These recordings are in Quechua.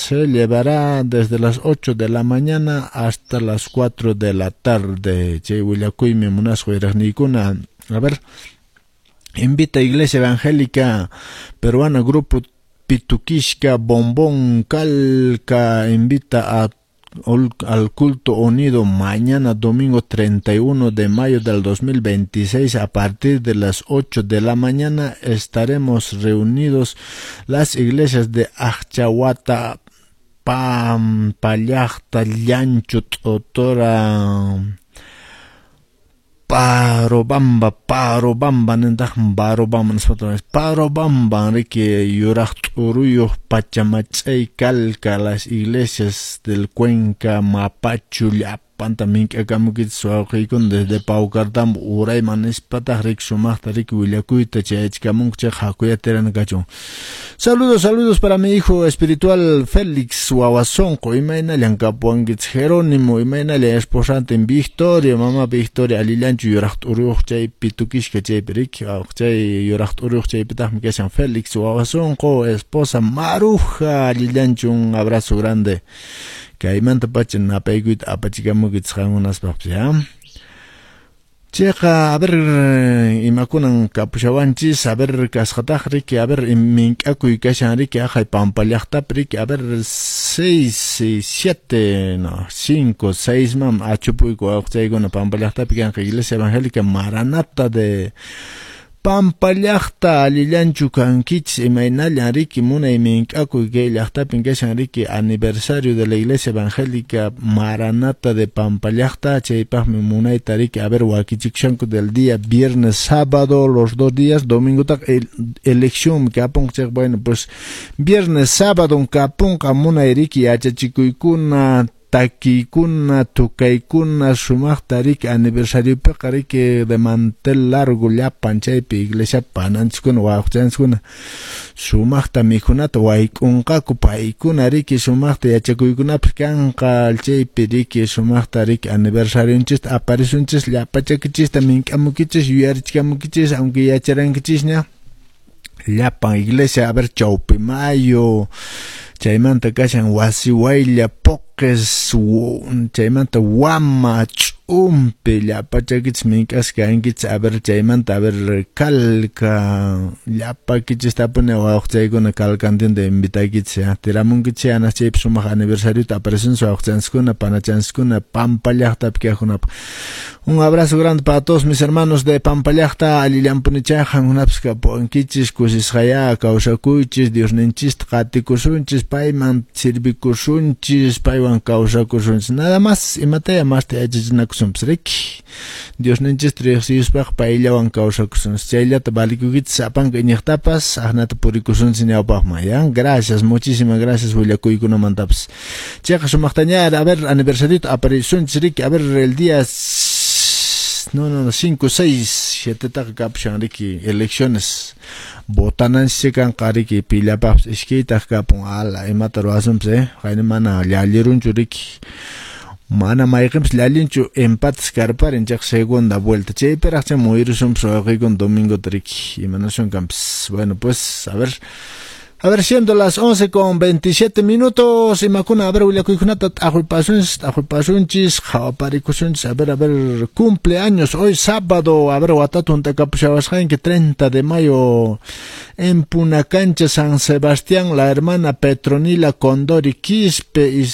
Se llevará desde las 8 de la mañana hasta las 4 de la tarde. Chay willakuymi munasqa wiraqniykuna. A ver, invita Iglesia Evangélica Peruana Grupo Pituquisca Bombón Calca invita al culto unido mañana domingo 31 de mayo del 2026 a partir de las 8 de la mañana estaremos reunidos las iglesias de Achahuata, Pampallacta, Llancho, Totora, Parobamba, Parobamba, nintaq Barobamba nispa Parobamba, riki yuraq t'uruyuq Pachamach'ay Calca, las iglesias del Cuenca, Mapachu, llapanta mink'akamukichis wawqiykuna desde Paucartambo urayman nispataq riki sumaqta riki willakuyta chayachikamunku chayqa hakuya tirana kachun. Saludos, saludos para mi hijo espiritual Félix Wawasonqo, imaynallan kapuwankichis Jerónimo, imaynallan esposantin Victoria, mamá Victoria, allillanchu yuraq t'uruyuq chay Pituquisca chaypi riki, chay yuraq t'uruyuq chaypitaqmi kashan Félix Wawasonqo, esposa Maruja, allillanchu, un abrazo grande. Kaymanta pacha napaykuyta apachikamukichis qankunaspaqpis, ya. Chayqa, a ver, imakunan kapushawanchis, a ver, kasqataq riki, a ver, mink'akuy kashan riki, aqhay Pampa llaqtapi riki, a ver, 6, 7, no, 5, 6 mam achupuyku wawqichaykuna Pampa llaqtapi kanqa Iglesia Evangélica Maranata de Pampa llaqta, allillanchu kankichis, imaynallan riki munay mink'akuy kay llaqtapin kashan riki aniversario de la Iglesia Evangélica Maranata de Pampa llaqta, chaypaqmi munayta riki, a ver, wakichikushanku del día viernes, sábado, los 2 días, domingo taq elección kapunqa chayqa, bueno, pues viernes, sábado kapunqa munay riki yachachikuykuna, takiykuna, tukaykuna, sumaqta riki aniversariopiqa riki de mantel largo llapan chaypi iglesia pananchiskuna wawqichanchiskuna sumaqta mikhunata wayk'unqaku paykuna riki sumaqta yachakuykunapis kanqa chaypi riki sumaqta riki aniversarionchista aparisunchis llapachakichista mink'amukichis yuyarichikamukichis aunque yacharankichisña llapan iglesia, a ver, Chaupimayo, chaymanta kashan Wasiwaylla, Poques, chaymanta Wama, Ch'umpi, llapachakichis mink'asqa kankichis, a ver, chaymanta, a ver, Calca, llapakichis tapuni wawqichaykuna Calcantinta invitaykichis, ya, tiramunkichis anas chaypi sumaq aniversariota aparecense wawqichanchiskuna, panachanchiskuna, Pampa llaqtapi kaqkunapaq. Un abrazo grande para todos mis hermanos de Pampa llaqta, allillanpunichá qankunapis kapuwankichis, kusisqayá kawsakuychis, Diosninchista qatikusunchis, payman sirvikusunchis, paywan kawsakusunchis. Nada más, imataya masta yachachinakusunpis riki. Diosninchista riqsiyuspaq payllawan kawsakusunchis. Chayllata valikukichis sapanka iñiqtapas, aqnata purikusunchis ñawpaqman, ya. Gracias, muchísimas gracias willakuykunamantapas. Chayqa sumaqtaña, a ver, aniversarito aparisunchis riki, a ver, el día no, 5, 6, 7 taqa kapushan riki, elecciones. Botananchis kanqa riki, pillapaqpis iskaytaq kapun, ala, imata ruwasunpis, qayna mana llallirunchu riki. Mana mayqinpis llallinchu empates karparin chayqa segunda vuelta. Chaypiraq chay muyrusunpis wawqiykuna domingota riki, imanasun kanpis. Bueno, pues, a ver. A ver, siendo las 11:27, imakuna, a ver, willakuykunata t'aqwipasunchis, t'aqwipasunchis, qhawaparikusunchis, a ver, cumpleaños, hoy sábado, a ver, watata hunt'akapushawasqanki, 30 de mayo, en Punacancha, San Sebastián, la hermana Petronila Condori Quispe y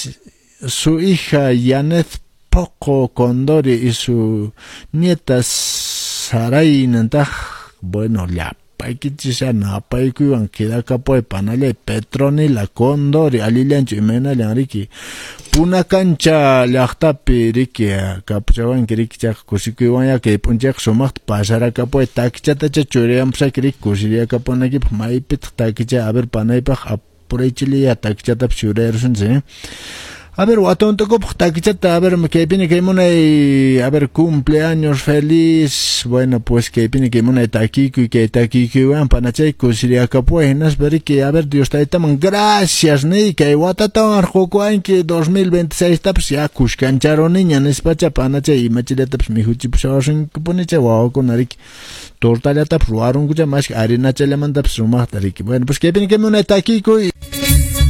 su hija Yanet Poco Condori y su nieta Saray nintaq, bueno, llapaykichis napaykuywan quedakapuway panallay Petronila Condori allillanchu imaynallan riki Punacancha llaqtapi riki kapuchawanki riki chayqa kusikuywan ya kay p'unchayqa sumaqta pasarakapuway takichatacha churayanpusayki riki kusiriyakapunaykipaq maypitaq takicha a ver panaypaq apuraychilaya takichatapis churayarunchis. A ver, watuntukupaq takichata, a ver, kaypini kay munay, a ver, cumpleaños feliz. Bueno, pues kaypini kay munay takikuy, kay takikuywan panachay kusiriyakapuway hinaspa riki, a ver, Dios taytaman gracias niy, kay watatawan arqukuwanki 2026 tapis ya kushkancharuniña nispacha panachay imachillatapis mikhuchipushawasunkipunichay wawakuna riki, tortallatapis ruwarunkucha mashka harinachallamantapis sumaqta riki. Bueno, pues kaypini kay munay takikuy.